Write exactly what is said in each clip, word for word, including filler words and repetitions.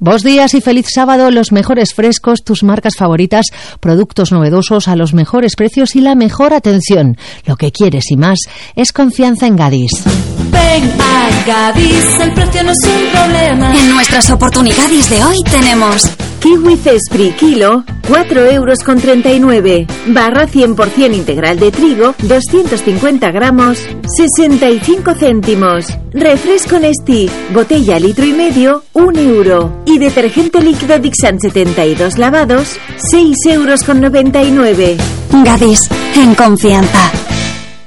Bos días y feliz sábado. Los mejores frescos, tus marcas favoritas, productos novedosos a los mejores precios y la mejor atención. Lo que quieres y más es confianza en Gadis. Ven a Gadis, el precio no es un problema. En nuestras oportunidades de hoy tenemos kiwi Cespri kilo, cuatro euros con treinta y nueve. Barra cien por ciento integral de trigo, doscientos cincuenta gramos, sesenta y cinco céntimos. Refresco Nestí, botella litro y medio, un euro. Y detergente líquido Dixan setenta y dos lavados, seis euros con noventa y nueve. Gadis, en confianza.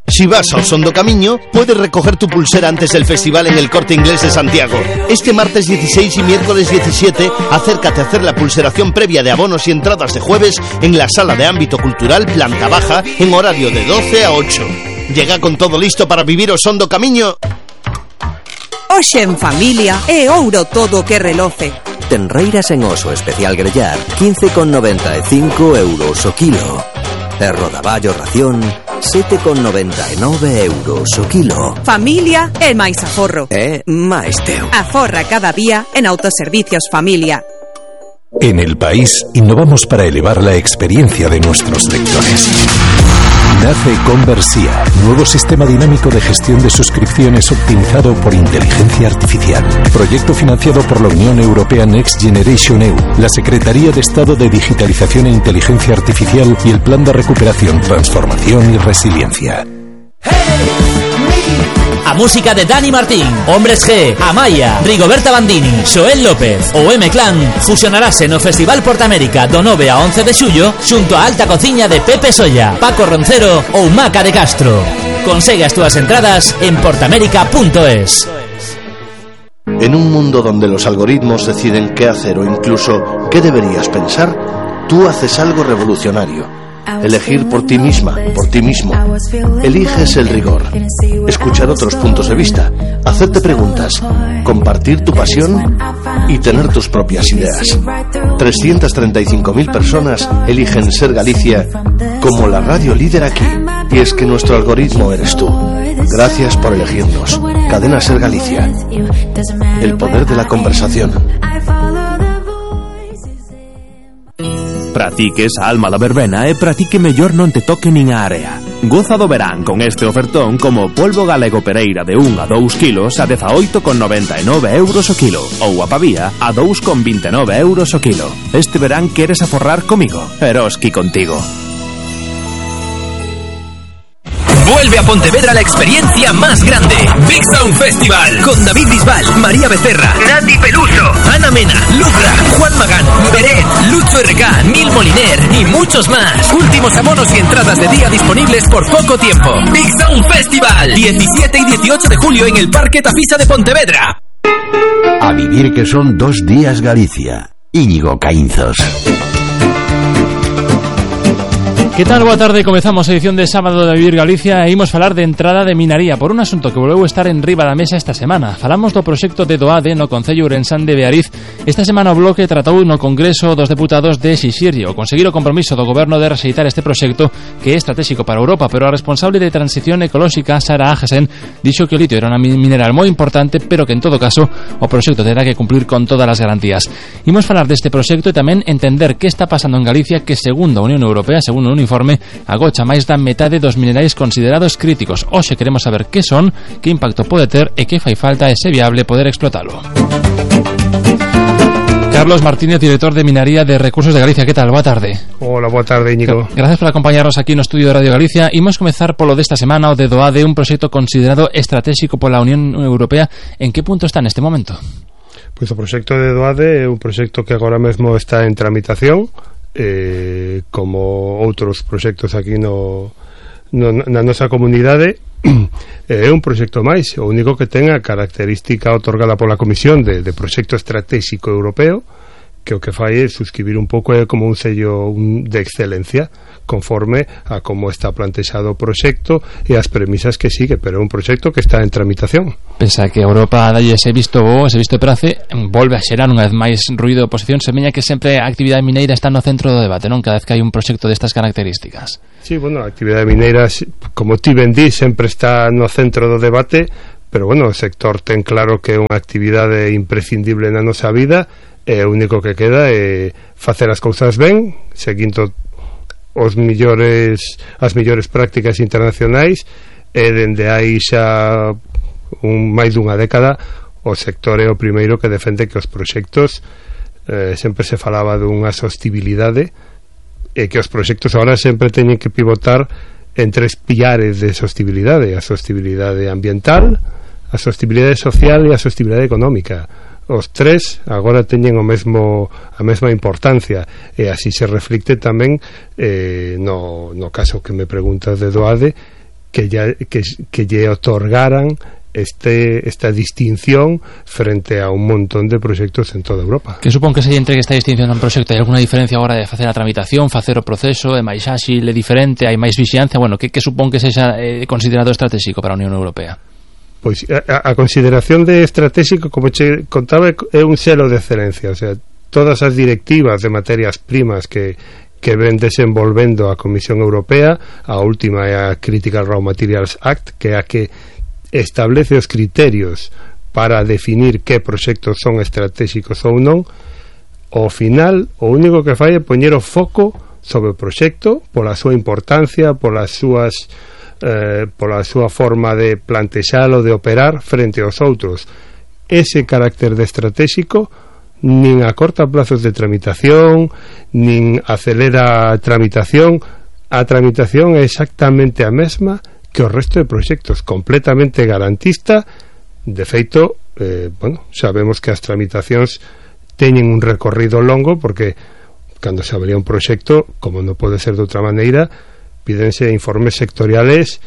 Si vas al Sondo Camiño, puedes recoger tu pulsera antes del festival en el Corte Inglés de Santiago. Este martes dieciséis y miércoles diecisiete, acércate a hacer la pulseración previa de abonos y entradas de jueves en la Sala de Ámbito Cultural Planta Baja en horario de doce a ocho. Llega con todo listo para vivir o Sondo Camiño. Hoxe en familia é ouro todo que reloce. Tenreiras en oso especial grellar, quince con noventa e cinco euros o kilo. E rodaballo ración, sete con noventa e nove euros o kilo. Familia é máis aforro. É máis teu. Aforra cada día en Autoservicios Familia. En El País innovamos para elevar la experiencia de nuestros lectores. Nace Conversia, nuevo sistema dinámico de gestión de suscripciones optimizado por inteligencia artificial. Proyecto financiado por la Unión Europea Next Generation E U, la Secretaría de Estado de Digitalización e Inteligencia Artificial y el Plan de Recuperación, Transformación y Resiliencia. A música de Dani Martín, Hombres G, Amaya, Rigoberta Bandini, Xoel López ou M-Clan fusionarase no Festival Portamérica do nove a once de xullo xunto a alta cociña de Pepe Solla, Paco Roncero ou Maca de Castro. Consegue as túas entradas en portamérica punto es. En un mundo donde los algoritmos deciden qué hacer o incluso qué deberías pensar, tú haces algo revolucionario. Elegir por ti misma, por ti mismo. Eliges el rigor, escuchar otros puntos de vista, hacerte preguntas, compartir tu pasión y tener tus propias ideas. trescientas treinta y cinco mil personas eligen Ser Galicia como la radio líder aquí. Y es que nuestro algoritmo eres tú. Gracias por elegirnos. Cadena Ser Galicia. El poder de la conversación. Pratique esa alma da verbena e pratique mellor non te toque nin a area. Goza do verán con este ofertón como polvo galego Pereira de un a dous kilos a dezaoito con noventa e nove euros o kilo ou a pavía a dous con vinte e nove euros o kilo. Este verán queres aforrar comigo, Eroski contigo. Vuelve a Pontevedra la experiencia más grande. Big Sound Festival. Con David Bisbal, María Becerra, Nati Peluso, Ana Mena, Lucra, Juan Magán, Beret, Lucho R K, Nil Moliner y muchos más. Últimos abonos y entradas de día disponibles por poco tiempo. Big Sound Festival. diecisiete y dieciocho de julio en el Parque Tafisa de Pontevedra. A vivir que son dos días Galicia. Íñigo Caínzos. Que tal? Boa tarde, comezamos a edición de sábado de Vivir Galicia e imos falar de entrada de minaría por un asunto que volveu estar en riba da mesa esta semana. Falamos do proxecto de Doade no Concello Ourensán de Beariz. Esta semana o Bloque tratou no Congreso dos Deputados de exixirlle o conseguir o compromiso do Goberno de rexeitar este proxecto que é estratégico para Europa, pero a responsable de Transición Ecolóxica, Sara Agesen, dixo que o litio era unha mineral moi importante, pero que en todo caso o proxecto terá que cumplir con todas as garantías. Imos falar deste proxecto e tamén entender que está pasando en Galicia que, segundo a Unión Europea, segundo un informe, agocha máis da metade dos minerais considerados críticos. Hoxe queremos saber que son, que impacto pode ter e que fai falta e se viable poder explotalo. Carlos Martínez, director de Minería de Recursos de Galicia. Que tal? Boa tarde. Hola, boa tarde, Íñigo. Gracias por acompañarnos aquí no estudio de Radio Galicia. Imos comezar polo desta semana, o de Doade, un proxecto considerado estratégico pola Unión Europea. En que punto está neste momento? Pois o proxecto de Doade é un proxecto que agora mesmo está en tramitación, eh, como outros proxectos aquí no, no, na nosa comunidade. É un proxecto máis, o único que ten a característica otorgada pola Comisión de, de proxecto estratégico europeo, que o que fai é suscribir un pouco é como un sello un, de excelencia, conforme a como está plantexado o proxecto e as premisas que sigue, pero é un proxecto que está en tramitación. Pensa que a Europa dalle ese visto bo, ese visto prace, volve a xerar unha vez máis ruido de oposición, semeña que sempre a actividade mineira está no centro do debate, non? Cada vez que hai un proxecto destas características. Sí, bueno, a actividade mineira, como ti ben di, sempre está no centro do debate, pero bueno, o sector ten claro que é unha actividade imprescindible na nosa vida, e o único que queda é facer as cousas ben, seguindo os millores as millores prácticas internacionais, e dende aí xa un máis dunha década o sector é o primeiro que defende que os proxectos, eh, sempre se falaba dunha sostibilidade, e que os proxectos agora sempre teñen que pivotar en tres pilares de sostibilidade: a sostibilidade ambiental, a sostibilidade social e a sostibilidade económica. Os tres agora teñen o mesmo a mesma importancia, e así se reflicte tamén eh, no, no caso que me preguntas de Doade, que, ya, que, que lle otorgaran este, esta distinción frente a un montón de proxectos en toda Europa. Que supón que se entregue esta distinción a un proxecto? Hai alguna diferencia agora de facer a tramitación, facer o proceso, é máis áxil, é diferente, hai máis vixiancia? Bueno, que, que supón que sexa eh, considerado estratégico para a Unión Europea? Pois a, a consideración de estratégico, como che contaba, é un selo de excelencia. O sea, todas as directivas de materias primas que que ven desenvolvendo a Comisión Europea, a última é a Critical Raw Materials Act, que é a que establece os criterios para definir que proxectos son estratégicos ou non. Ao final, o único que fai é poñer o foco sobre o proxecto pola súa importancia, polas súas eh, pola súa forma de plantexalo, de operar frente aos outros. Ese carácter de estratégico nin acorta plazos de tramitación, nin acelera a tramitación. A tramitación é exactamente a mesma que o resto de proxectos, completamente garantista. De feito, eh, bueno, sabemos que as tramitacións teñen un recorrido longo, porque cando se abría un proxecto, como non pode ser de outra maneira, pídense informes sectoriales,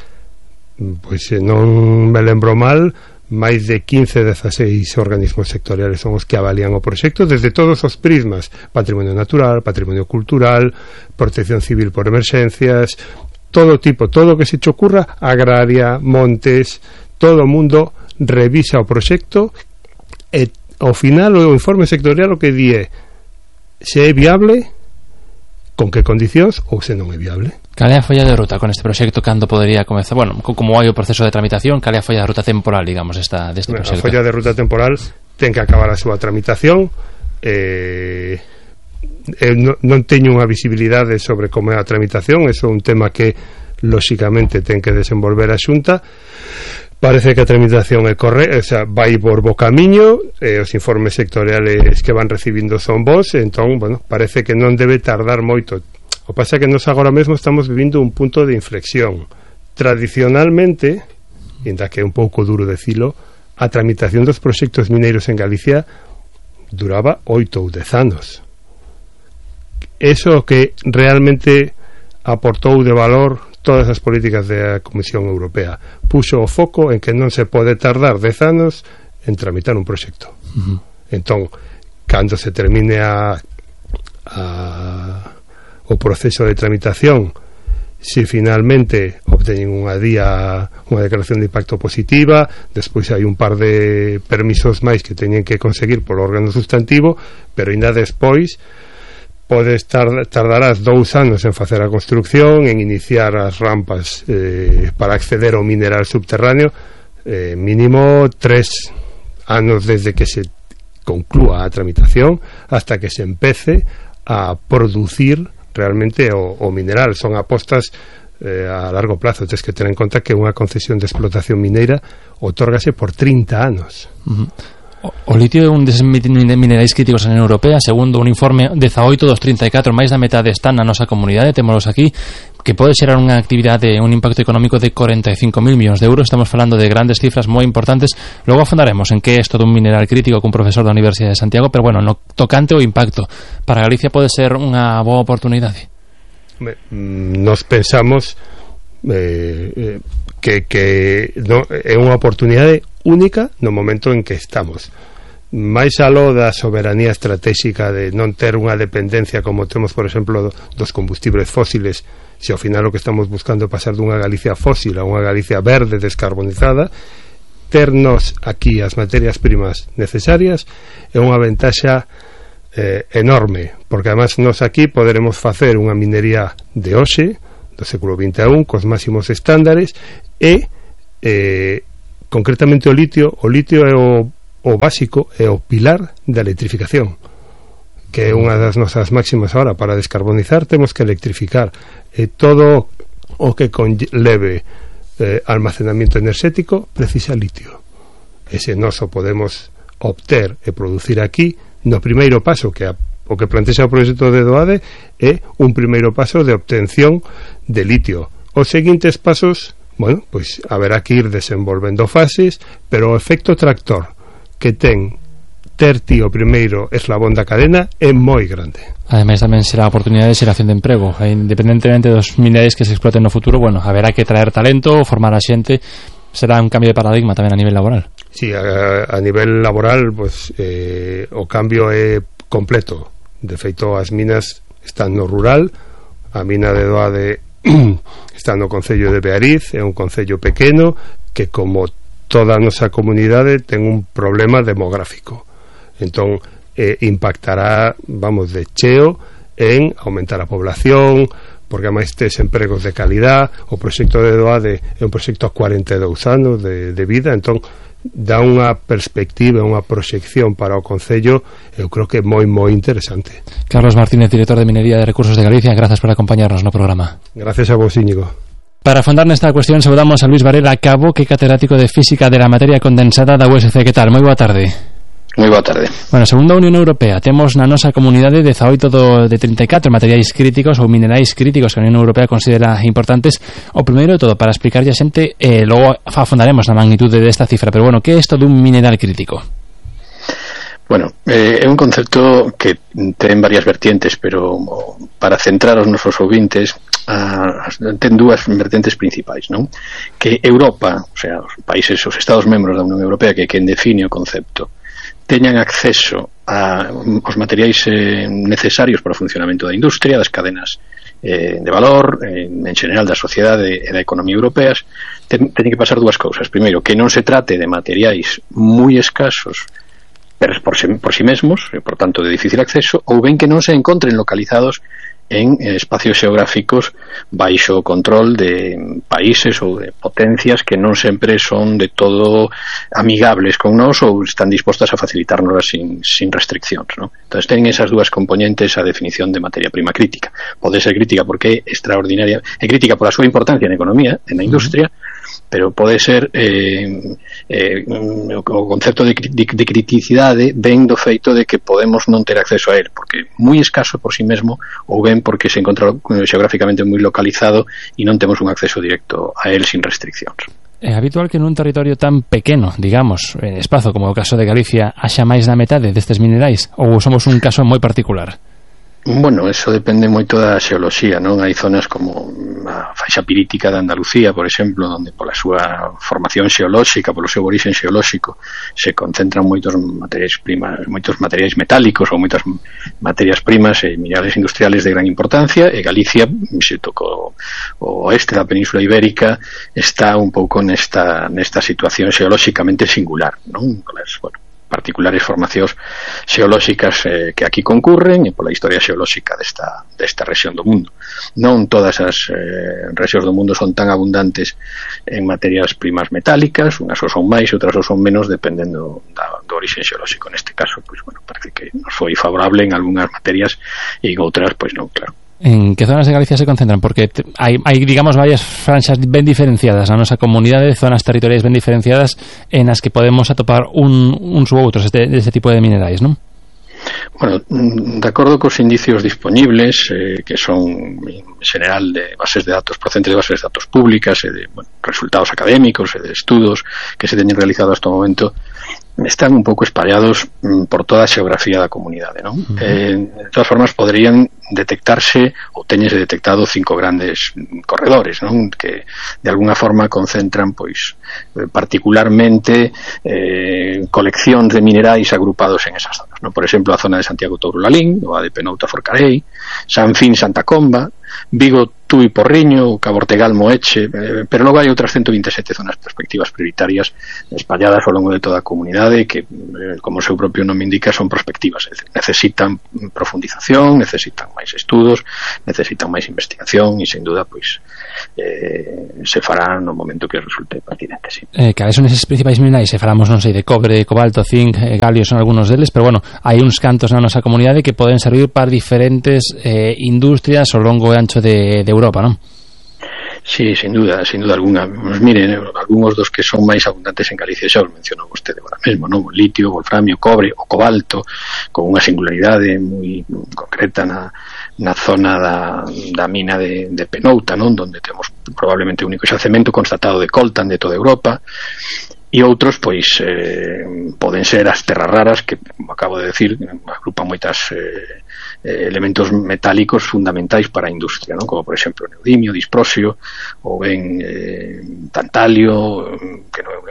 pois non me lembro mal, máis de quince, dezasseis organismos sectoriales son os que avalían o proxecto desde todos os prismas: patrimonio natural, patrimonio cultural, protección civil por emerxencias, todo tipo, todo o que se te ocurra, agraria, montes, todo o mundo revisa o proxecto, e ao final o informe sectorial o que di é se é viable, con que condicións, ou se non é viable. Cal é a folla de ruta con este proxecto? Cando podería comezar? Bueno, como hai o proceso de tramitación, cal é a folla de ruta temporal, digamos, esta, deste bueno, proxecto? A folla de ruta temporal ten que acabar a súa tramitación. eh, eh, non, non teño unha visibilidade sobre como é a tramitación, eso é un tema que lóxicamente ten que desenvolver a Xunta. Parece que a tramitación é correcta, o sea, vai por bo camiño, eh, os informes sectoriales que van recibindo son bons, entón, bueno, parece que non debe tardar moito. O pasa que nos agora mesmo estamos vivindo un punto de inflexión. Tradicionalmente, ainda que é un pouco duro decilo, a tramitación dos proxectos mineiros en Galicia duraba oito ou dez anos. Eso que realmente aportou de valor todas as políticas da Comisión Europea. Puxo o foco en que non se pode tardar dez anos en tramitar un proxecto. Uh-huh. Entón, cando se termine a, a o proceso de tramitación, se finalmente obteñen unha día unha declaración de impacto positiva, despois hai un par de permisos máis que teñen que conseguir polo órgano sustantivo, pero ainda despois pode estar, tardarás dous anos en facer a construcción, en iniciar as rampas eh, para acceder ao mineral subterráneo, eh, mínimo tres anos desde que se conclúa a tramitación hasta que se empece a producir realmente o, o mineral. Son apostas eh, a largo plazo. Tens que ter en conta que unha concesión de explotación mineira otórgase por trinta anos. Uh-huh. O litio é un dos minerais críticos na Unión Europea. Segundo un informe, dezaoito dos trinta e catro, máis da metade están na nosa comunidade, témolos aquí, que pode xerar unha actividade, un impacto económico de corenta e cinco mil millóns de euros. Estamos falando de grandes cifras moi importantes. Logo afondaremos en que é isto dun mineral crítico cun profesor da Universidade de Santiago, pero bueno, no tocante o impacto para Galicia pode ser unha boa oportunidade. Nos pensamos eh, eh, que, que no, é unha oportunidade única no momento en que estamos. Máis aló da soberanía estratégica de non ter unha dependencia como temos, por exemplo, dos combustibles fósiles, se ao final o que estamos buscando é pasar dunha Galicia fósil a unha Galicia verde, descarbonizada, ternos aquí as materias primas necesarias é unha ventaxa eh, enorme, porque además nos aquí poderemos facer unha minería de hoxe do século vinte e un cos máximos estándares e eh, concretamente o litio, o litio é o, o básico, é o pilar da electrificación, que é unha das nosas máximas ahora. Para descarbonizar temos que electrificar, e todo o que conleve eh, almacenamiento enerxético precisa litio. E se nós o podemos obter e producir aquí, no primeiro paso que a, o que plantexa o proxecto de DOADE é un primeiro paso de obtención de litio. Os seguintes pasos, bueno, pois haberá que ir desenvolvendo fases, pero o efecto tractor que ten ter ti o primeiro eslabón da cadena é moi grande. Ademais tamén será a oportunidade de xeración de emprego, e independentemente dos minerais que se exploten no futuro, bueno, haberá que traer talento, formar a xente. Será un cambio de paradigma tamén a nivel laboral. Sí, a, a nivel laboral, pues, eh, o cambio é completo. De feito, as minas están no rural, a mina de Doade está no concello de Beariz, é un concello pequeno que, como toda a nosa comunidade, ten un problema demográfico. Entón, eh, impactará, vamos, de cheo en aumentar a población, porque ademais tes empregos de calidad. O proxecto de Doade é un proxecto a cuarenta e dous anos de, de vida, entón dá unha perspectiva, unha proxección para o Concello, eu creo que é moi, moi interesante. Carlos Martínez, director de Minería de Recursos de Galicia, gracias por acompañarnos no programa. Gracias a vos, Íñigo. Para afondar nesta cuestión, saludamos a Luis Varela Cabo, que é catedrático de Física de la Materia Condensada da U S C. Que tal? Moi boa tarde. Moi boa tarde. Bueno, segundo a Unión Europea, temos na nosa comunidade dezaoito do, de trinta e catro materiais críticos ou minerais críticos que a Unión Europea considera importantes. O primeiro de todo, para explicarlle a xente, eh, logo afondaremos na magnitude desta cifra, pero bueno, que é isto dun mineral crítico? Bueno, eh, é un concepto que ten varias vertientes, pero para centrar os nosos ouvintes, a, ten dúas vertentes principais, non? Que Europa, o sea, os países, os Estados membros da Unión Europea, que é quen define o concepto, teñan acceso a os materiais eh, necesarios para o funcionamento da industria, das cadenas eh, de valor, eh, en general da sociedade e da economía europeas. Ten, teñen que pasar dúas cousas. Primeiro, que non se trate de materiais moi escasos por, por, si, por si mesmos, e por tanto de difícil acceso, ou ben que non se encontren localizados en espacios xeográficos baixo o control de países ou de potencias que non sempre son de todo amigables con nós ou están dispostas a facilitarnos sin, sin restriccións, ¿no? Entón, ten esas dúas componentes a definición de materia prima crítica. Pode ser crítica porque é extraordinaria, é crítica por a súa importancia na economía, na industria, pero pode ser eh, eh, o concepto de, de, de criticidade ven do feito de que podemos non ter acceso a él, porque moi escaso por si mesmo, ou ben porque se encontra xeográficamente moi localizado e non temos un acceso directo a él sin restriccións. É habitual que nun territorio tan pequeno, digamos, en espazo como o caso de Galicia, haxa máis da metade destes minerais, ou somos un caso moi particular? Bueno, eso depende moito da xeoloxía, non? Hai zonas como a faixa pirítica de Andalucía, por exemplo, onde pola súa formación xeolóxica, polo seu orixen xeolóxico, se concentran moitos materiais primas, moitos materiais metálicos ou moitas materias primas e minerales industriales de gran importancia, e Galicia, se tocou o oeste da Península Ibérica, está un pouco nesta nesta situación xeolóxicamente singular, non? Polas, bueno, particulares formacións xeolóxicas eh, que aquí concurren e pola historia xeolóxica desta, desta rexión do mundo. Non todas as eh, rexións do mundo son tan abundantes en materias primas metálicas, unhas ou son máis, outras ou son menos, dependendo da, do origen xeolóxico. Neste caso, pois, bueno, parece que nos foi favorable en algunhas materias e en outras, pois non, claro. En que zonas de Galicia se concentran? Porque hai, hai digamos, varias franxas ben diferenciadas na nosa comunidade, zonas territoriais ben diferenciadas en as que podemos atopar un, uns ou outros deste, deste tipo de minerais, non? Bueno, de acordo cos indicios disponibles, eh, que son en general de bases de datos, procedentes de bases de datos públicas e de, bueno, resultados académicos e de estudos que se teñen realizado hasta o momento, están un pouco espallados mm, por toda a xeografía da comunidade, non? Uh-huh. Eh, de todas formas, poderían detectarse ou teñense detectado cinco grandes corredores, non? Que de alguna forma concentran, pois, particularmente eh, coleccións de minerais agrupados en esas zonas, non? Por exemplo, a zona de Santiago Touro Lalín, o A D P Nouta Forcarei, San Fin Santa Comba, Vigo Tui Porriño, Cabo Ortegal, Moeche, eh, pero logo hai outras ciento vinte e sete zonas prospectivas prioritarias espalladas ao longo de toda a comunidade que, eh, como o seu propio nome indica, son prospectivas, é dicir, necesitan profundización, necesitan máis estudos, necesitan máis investigación e, sin duda, pois eh, se fará no momento que resulte pertinente, sí. Eh, cales son eses principais minerais? Se falamos, non sei, de cobre, cobalto, zinc, eh, galio, son algúns deles, pero bueno, hai uns cantos na nosa comunidade que poden servir para diferentes eh, industrias ao longo e ancho de, de Europa, non? Sí, sin duda, sin duda alguna. Pues miren, algúns dos que son máis abundantes en Galicia xa os mencionou vostede agora mesmo, non? O litio, o wolframio, cobre, o cobalto, con unha singularidade moi concreta na, na zona da, da mina de, de Penouta, non? Donde temos probablemente o único xacemento constatado de coltan de toda Europa. E outros, pois, eh, poden ser as terras raras que, como acabo de decir, agrupan moitas eh, elementos metálicos fundamentais para a industria, non? Como, por exemplo, neodimio, disprosio, ou ben eh, tantalio, que non,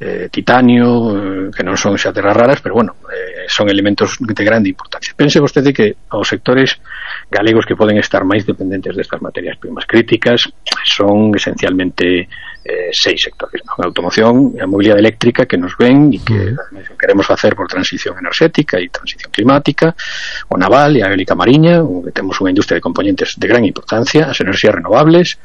eh, titanio, eh, que non son xa terras raras, pero, bueno, eh, son elementos de grande importancia. Pense vostede que os sectores galegos que poden estar máis dependentes destas materias primas críticas son esencialmente eh, seis sectores, non? A automoción, a mobilidade eléctrica que nos ven e que uh-huh. queremos facer por transición enerxética e transición climática, o naval e a eólica mariña, onde temos unha industria de componentes de gran importancia, as enerxías renovables,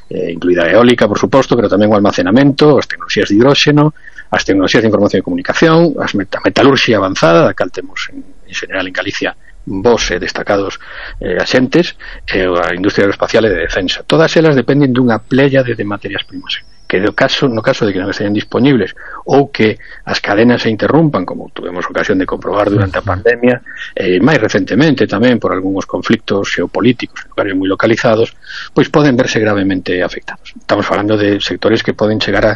eh, incluída a eólica, por suposto, pero tamén o almacenamento, as tecnoloxías de hidróxeno, as tecnoloxías de información e comunicación, as met- a metalurxia avanzada, da cal temos en, en general en Galicia vos e destacados eh, axentes, e a industria aeroespacial e de defensa. Todas elas dependen dunha pléyade de materias primas que no caso, no caso de que non estean disponibles ou que as cadenas se interrumpan, como tuvemos ocasión de comprobar durante a pandemia, e eh, máis recentemente tamén por algúns conflictos xeopolíticos en lugares moi localizados, pois poden verse gravemente afectados. Estamos falando de sectores que poden chegar a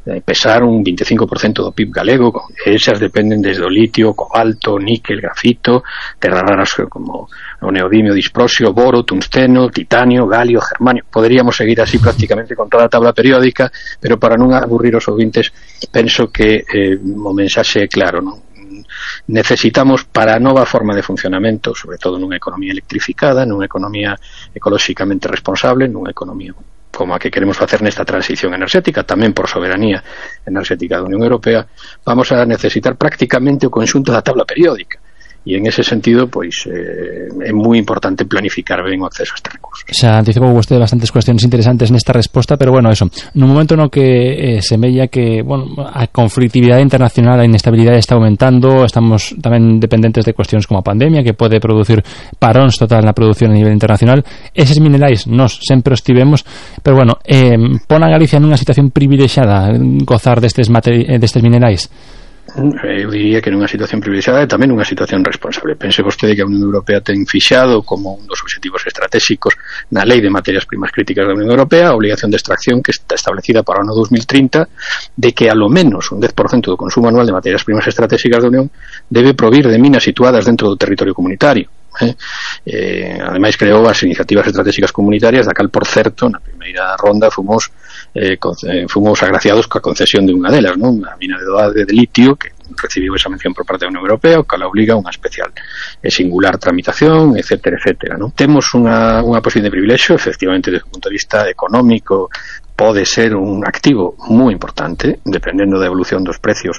eh, pesar un veinticinco por ciento do P I B galego, e esas dependen desde o litio, cobalto, níquel, grafito, terras raras como o neodimio, disprosio, boro, tungsteno, titanio, galio, germanio. Poderíamos seguir así prácticamente con toda a tabla periódica, pero para non aburrir os ouvintes, penso que eh, o mensaxe é claro, non? Necesitamos para a nova forma de funcionamento, sobre todo nunha economía electrificada, nunha economía ecolóxicamente responsable, nunha economía como a que queremos facer nesta transición enerxética, tamén por soberanía enerxética da Unión Europea, vamos a necesitar prácticamente o conxunto da tabla periódica. E en ese sentido, pois, eh, é moi importante planificar ben o acceso a este recurso. Xa anticipou vostede bastantes cuestiones interesantes nesta resposta, pero bueno, eso, no momento no que eh, semella que, bueno, a conflictividade internacional, a inestabilidade está aumentando, estamos tamén dependentes de cuestións como a pandemia, que pode producir paróns total na produción a nivel internacional, eses minerais nos sempre os tivemos, pero bueno, eh, pon a Galicia nunha situación privilexiada gozar destes, materi- destes minerais. Eu diría que nunha situación privilexiada e tamén nunha situación responsable. Pense vostede que a Unión Europea ten fixado como un dos obxectivos estratégicos na Lei de Materias Primas Críticas da Unión Europea a obligación de extracción que está establecida para o ano dos mil trinta de que a lo menos un dez por cento do consumo anual de materias primas estratégicas da Unión debe provir de minas situadas dentro do territorio comunitario. Eh? Eh, ademais creou as iniciativas estratégicas comunitarias da cal, por certo, na primeira ronda fomos eh, con, eh, fomos agraciados coa concesión de unha delas, non? A mina de Doade de litio, que recibiu esa mención por parte da Unión Europea, o que la obliga a unha especial e singular tramitación, etcétera, etcétera, non? Temos unha, unha posición de privilexio, efectivamente, desde o punto de vista económico, pode ser un activo moi importante, dependendo da evolución dos precios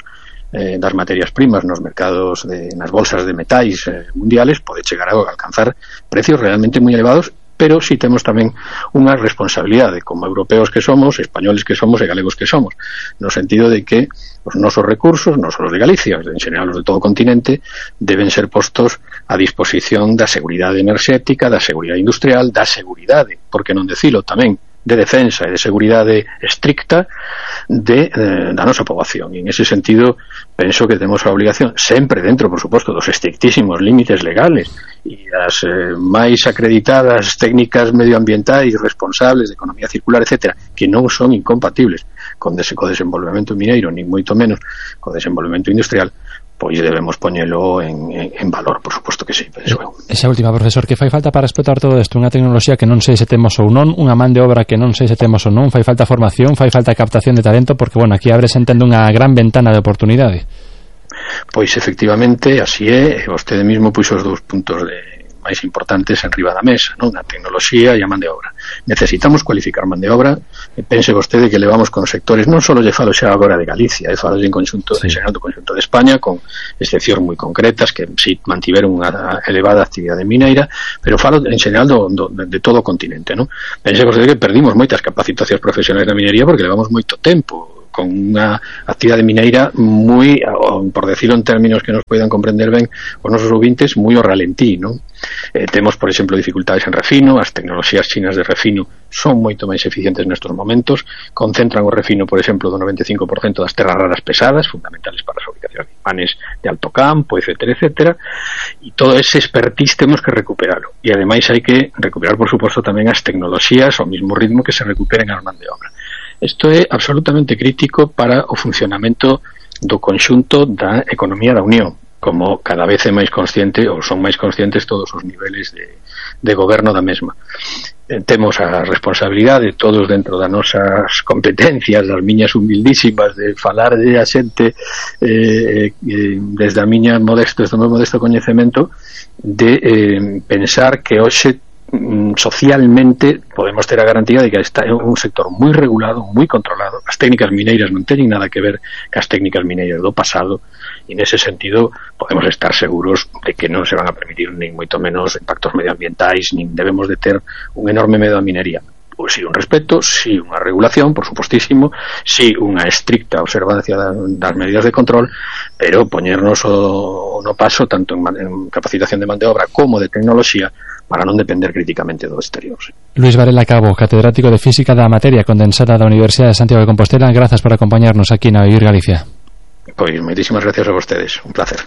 Eh, das materias primas nos mercados de, nas bolsas de metais eh, mundiales, pode chegar a alcanzar precios realmente moi elevados, pero si temos tamén unha responsabilidade como europeos que somos, españoles que somos e galegos que somos, no sentido de que os nosos recursos, non só os de Galicia, en general os de todo o continente, deben ser postos a disposición da seguridade enerxética, da seguridade industrial, da seguridade, porque non decilo tamén, de defensa e de seguridade estricta de, eh, da nosa poboación. E en ese sentido penso que temos a obligación, sempre dentro, por suposto, dos estrictísimos límites legales e das eh, máis acreditadas técnicas medioambientais responsables de economía circular, etcétera, que non son incompatibles con dese co desenvolvemento mineiro, nin moito menos co desenvolvemento industrial, pois debemos poñelo en, en, en valor, por suposto que sí, penso eu. Esa última, profesor, que fai falta para explotar todo isto? Unha tecnoloxía que non sei se temos ou non, unha man de obra que non sei se temos ou non, fai falta formación, fai falta captación de talento, porque, bueno, aquí abre entendo unha gran ventana de oportunidade. Pois, efectivamente, así é, vostede mismo puxo os dous puntos de máis importantes en riba da mesa, non? A tecnoloxía e a man de obra. Necesitamos cualificar man de obra, e pense vostede que levamos con sectores, non só lle falo xa agora de Galicia, e falo en conxunto, sí. en xeral do conxunto de España, con excepcións moi concretas que si mantiveron unha elevada actividade mineira, pero falo en xeral do, do, de todo o continente, non? Pense vostede que perdimos moitas capacitacións profesionais da minería porque levamos moito tempo con unha actividade mineira moi, por decirlo en términos que nos poidan comprender ben os nosos ouvintes, moi ao ralentí, non? Eh, temos, por exemplo, dificultades en refino, as tecnoloxías chinas de refino son moito máis eficientes nestes momentos, concentran o refino, por exemplo, do noventa e cinco por cento das terras raras pesadas, fundamentales para a fabricación de imanes de alto campo, etcétera, etcétera, e todo ese expertise temos que recuperarlo, e ademais hai que recuperar, por suposto, tamén as tecnoloxías ao mesmo ritmo que se recuperen as man de obra. Isto é absolutamente crítico para o funcionamento do conxunto da economía da Unión, como cada vez é máis consciente, ou son máis conscientes todos os niveles de, de goberno da mesma. Eh, temos a responsabilidade todos dentro das nosas competencias, das miñas humildísimas, de falar de a xente eh, eh, desde a miña modesto, desde o meu modesto coñecemento, de eh, pensar que hoxe socialmente podemos ter a garantía de que está é un sector moi regulado, moi controlado. As técnicas mineiras non teñen nada que ver cas técnicas mineiras do pasado, e nese sentido podemos estar seguros de que non se van a permitir nin moito menos impactos medioambientais, nin debemos de ter un enorme medo á minería. Pois si un respeto, si unha regulación, por supostísimo, si unha estricta observancia das medidas de control, pero poñernos o, no paso tanto en, en capacitación de man de obra como de tecnoloxía para non depender críticamente do exterior. Sí. Luis Varela Cabo, catedrático de Física da Materia Condensada da Universidade de Santiago de Compostela, grazas por acompañarnos aquí na Vivir Galicia. Pois moitísimas gracias a vostedes, un placer.